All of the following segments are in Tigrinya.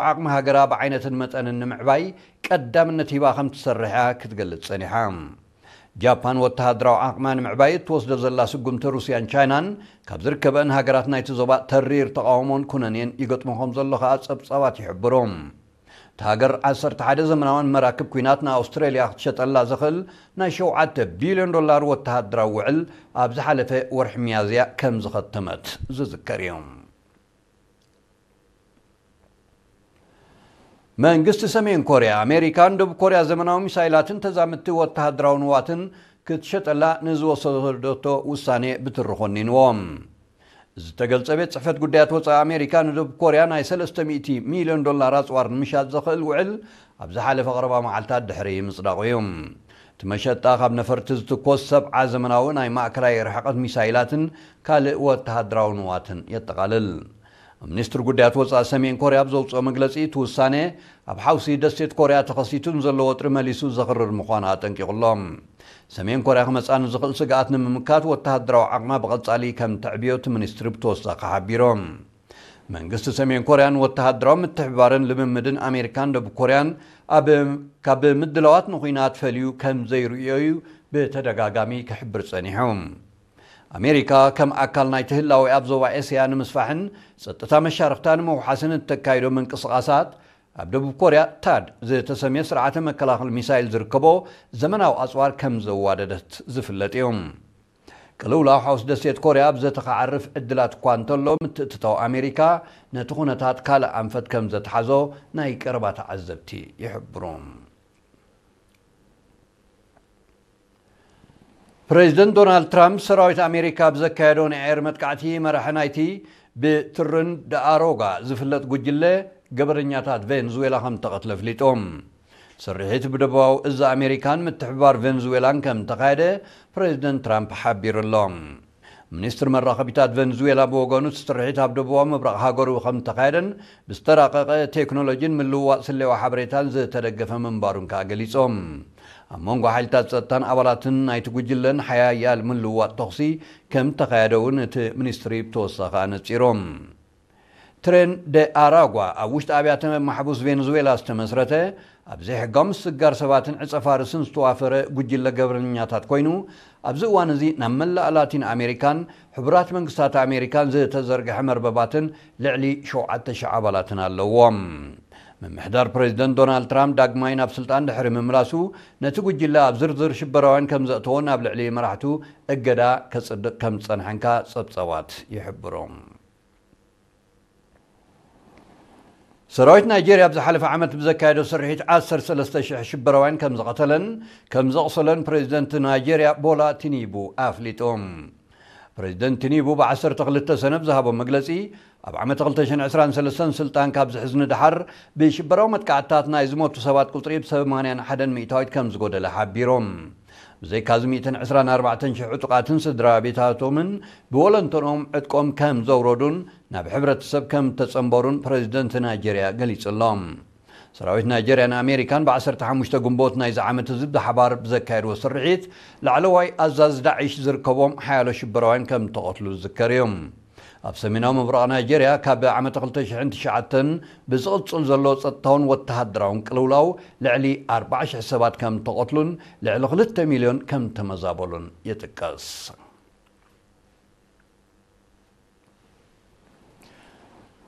ዓቕሚ ሃገራ ብዓይነትን መጠንን ንምዕባይ ቀዳምነት ሂባ ከም ትሰርሕ እያ ክትገልጽ ጸኒሓ። ጃፓን ወተሃደራዊ ዓቕማ ንምዕባይ እትወስዶ ዘላ ስጉምቲ ሩስያን ቻይናን ካብ ዝርከበአን ሃገራት ናይቲ ዞባ ተሪር ተቓውሞን ኩነኔን ይገጥሞ ከም ዘሎ ከኣ ጸብጻባት ይሕብሩ። እታ ሃገር ዓሰርተ ሓደ ዘመናውያን መራክብ ኲናት ንኣውስትራልያ ክትሸጠላ ዘኽእል ናይ ሸውዓተ ቢልዮን ዶላር ወተሃደራዊ ውዕል ኣብ ዝሓለፈ ወርሒ ሚያዝያ ከም ዝኸተመት ዝዝከር እዩ። መንግስቲ ሰሜን ኮርያ፣ ኣሜሪካ ንደቡብ ኮርያ ዘመናዊ ሚሳይላትን ተዛምድቲ ወተሃደራዊ ንዋትን ክትሸጠላ ንዝወሰደቶ ውሳኔ ብትሪ ኮኒንዎ። ዝተገልጸ ቤት ጽሕፈት ጉዳያት ወጻኢ ኣሜሪካ ንደቡብ ኮርያ ናይ ሰለስተ ሚእቲ ሚልዮን ዶላር ኣጽዋር ንምሻጥ ዘኽእል ውዕል ኣብ ዝሓለፈ ቀረባ መዓልታት ድሕሪ ምጽዳቑ እዩ። እቲ መሸጣ ካብ ነፈርቲ ዝትኮስ ሰብዓ ዘመናዊ ናይ ማእከላይ ርሕቀት ሚሳይላትን ካልእ ወተሃደራዊ ንዋትን የጠቓልል። ሚኒስትሪ ጉዳያት ወጻኢ ሰሜን ኮርያ ኣብ ዘውጽኦ መግለጺ፣ እቲ ውሳኔ ኣብ ሓውሲ ደሴት ኮርያ ተኸሲቱ ንዘሎ ወጥሪ መሊሱ ዘኽርር ምዃኑ ኣጠንቂቑ ኣሎ። ሰሜን ኮርያ ክመጽኣ ንዝኽእል ስግኣት ንምምካት ወተሃደራዊ ዓቕማ ብቐጻሊ ከም ተዕብዮ እቲ ሚኒስትሪ ብተወሳኺ ሓቢሩ። መንግስቲ ሰሜን ኮርያን ወተሃደራዊ ምትሕብባርን ልምምድን ኣሜሪካን ደቡብ ኮርያን ኣብ፣ ካብ ምድላዋት ንኹናት ፈልዩ ከም ዘይርእዮ እዩ ብተደጋጋሚ ክሕብር ጸኒሑ። ኣሜሪካ ከም ኣካል ናይቲ ህላዌ ኣብ ዞባ ኤስያ ንምስፋሕን ጸጥታ መሻርኽታ ንምውሓስን እተካይዶ ምንቅስቓሳት፣ ኣብ ደቡብ ኮርያ ታድ ዝተሰምየ ስርዓተ መከላኸሊ ሚሳይል ዝርከቦ ዘመናዊ ኣጽዋር ከም ዘዋደደት ዝፍለጥ እዩ። ቅልውላው ሓውስ ደሴት ኮርያ ኣብ ዘተ ክዓርፍ ዕድላት እኳ እንተሎ፣ ምትእትታው ኣሜሪካ ነቲ ኩነታት ካልእ ኣንፈት ከም ዘትሓዞ ናይ ቀረባ ተዓዘብቲ ይሕብሩ። ፕሬዚደንት ዶናልድ ትራምፕ ሰራዊት ኣሜሪካ ብዘካየዶ ናይ ኣየር መጥቃዕቲ መራሒ ናይቲ ብትርን ደኣሮጋ ዝፍለጥ ጉጅለ ገበረኛታት ቬንዙዌላ ከም ተቐትለ ኣፍሊጡ። ስርሒት ብደቡባዊ እዝ ኣሜሪካን ምትሕብባር ቬንዙዌላን ከም ተኻየደ ፕሬዚደንት ትራምፕ ሓቢሩ ኣሎ። ሚኒስትሪ መራኸቢታት ቬንዙዌላ ብወገኑ፣ እቲ ስርሒት ኣብ ደቡባዊ ምብራቕ ሃገሩ ከም ተኻየደን ብዝተራቐቐ ቴክኖሎጂን ምልውዋጥ ስለያዊ ሓበሬታን ዝተደገፈ ምንባሩን ከኣ ገሊጾም። ኣብ መንጎ ሓይልታት ጸጥታን ኣባላትን ናይቲ ጉጅለን ሓያል ምልውዋጥ ተኹሲ ከም ተኻየደ እውን እቲ ሚኒስትሪ ብተወሳኺ ኣነጺሮም። ትሬን ደ ኣራጓ ኣብ ውሽጢ ኣብያተ ማሕቡስ ቬንዙዌላ ዝተመስረተ፣ ኣብ ዘይሕጋዊ ምስግጋር ሰባትን ዕጸ ፋርስን ዝተዋፈረ ጉጅለ ገበነኛታት ኮይኑ፣ ኣብዚ እዋን እዚ ናብ መላእ ላቲን ኣሜሪካን ሕቡራት መንግስታት ኣሜሪካን ዝተዘርግሐ መርበባትን ልዕሊ ሸውዓተ ሽሕ ኣባላትን ኣለዎም። ምምሕዳር ፕሬዚደንት ዶናልድ ትራምፕ ዳግማይ ናብ ስልጣን ድሕሪ ምምላሱ፣ ነቲ ጉጅለ ኣብ ዝርዝር ሽበራውያን ከም ዘእተዎን ኣብ ልዕሊ መራሕቱ እገዳ ከጽድቕ ከም ዝጸንሐንካ ጸብጻባት ይሕብሩ። ሰራዊት ናይጄርያ ኣብ ዝሓለፈ ዓመት ብዘካየዶ ስርሒት ዓሰርተ ሰለስተ ሽሕ ሽበራውያን ከም ዝቐተለን ከም ዘቑሰለን ፕሬዚደንት ናይጄርያ ቦላ ቲኒቡ ኣፍሊጡ። ፕሬዚደንት ቲኒቡ ብ ዓሰርተ ክልተ ሰነ ብዝሃቦ መግለጺ፣ ኣብ ዓመት ክልተ ሽሕን ዕስራን ሰለስተን ስልጣን ካብ ዝሕዝ ንደሓር ብሽበራዊ መጥቃዕትታት ናይ ዝሞቱ ሰባት ቁጽሪ ብ ሰማንያን ሓደን ሚእታዊት ከም ዝጎደለ ሓቢሮም። ብዘይካዚ ሚእትን ዕስራን ኣርባዕተን ሽሕ ዕጡቓትን ስድራ ቤታቶምን ብወለንተኦም ዕጥቆም ከም ዘውረዱን ናብ ሕብረተሰብ ከም ተጸንበሩን ፕሬዚደንት ናይጄርያ ገሊጹ ኣሎ። ሰራዊት ናይጄርያን ኣሜሪካን ብ ዓሰርተ ሓሙሽተ ግንቦት ናይዚ ዓመት እዚ ብሓባር ብዘካየድዎ ስርሒት፣ ላዕለዋይ ኣዛዚ ዳዒሽ ዝርከቦም ሓያሎ ሽበራውያን ከም ተቐትሉ ዝዝከር እዩ። ኣብ ሰሜናዊ ምብራቕ ናይጄርያ ካብ ዓመት ክልተ ሽሕን ትሽዓተን ብዝቕጽል ዘሎ ጸጥታውን ወተሃደራውን ቅልውላው ልዕሊ ኣርባዓ ሽሕ ሰባት ከም ተቐትሉን ልዕሊ ክልተ ሚልዮን ከም ተመዛበሉን ይጥቀስ።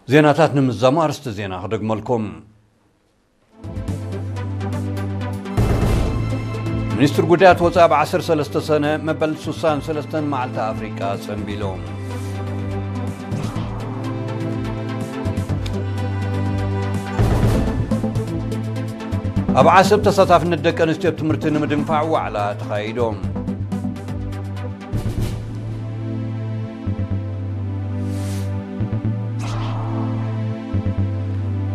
ዜናታት ንምዛሙ ኣርእስቲ ዜና ክደግመልኩም። ሚኒስትሪ ጉዳያት ወጻኢ ኣብ ዓሰርተ ሰለስተ ሰነ መበል ሱሳን ሰለስተን መዓልቲ ኣፍሪቃ ጸንቢሉ። ኣብ ዓሰብ ተሳታፍነት ደቂ ኣንስትዮ ኣብ ትምህርቲ ንምድንፋዕ ዋዕላ ተኻይዱ።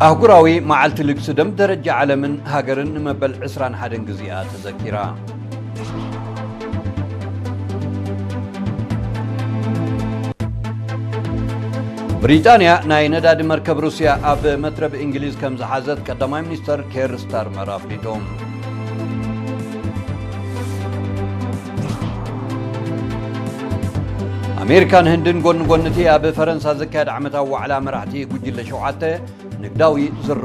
ኣህጉራዊ መዓልቲ ልግሲ ደም ደረጃ ዓለምን ሃገርን ንመበል ዕስራን ሓደን ግዜኣ ተዘኪራ። ብሪጣንያ ናይ ነዳዲ መርከብ ሩስያ ኣብ መትረብ እንግሊዝ ከም ዝሓዘት ቀዳማይ ሚኒስተር ኬር ስታርመር ኣፍሊጡ። ኣሜሪካን ህንድን ጎኒ ጎኒ እቲ ኣብ ፈረንሳ ዝካየድ ዓመታዊ ዋዕላ መራሕቲ ጉጅለ ሸውዓተ ንግዳዊ ዝር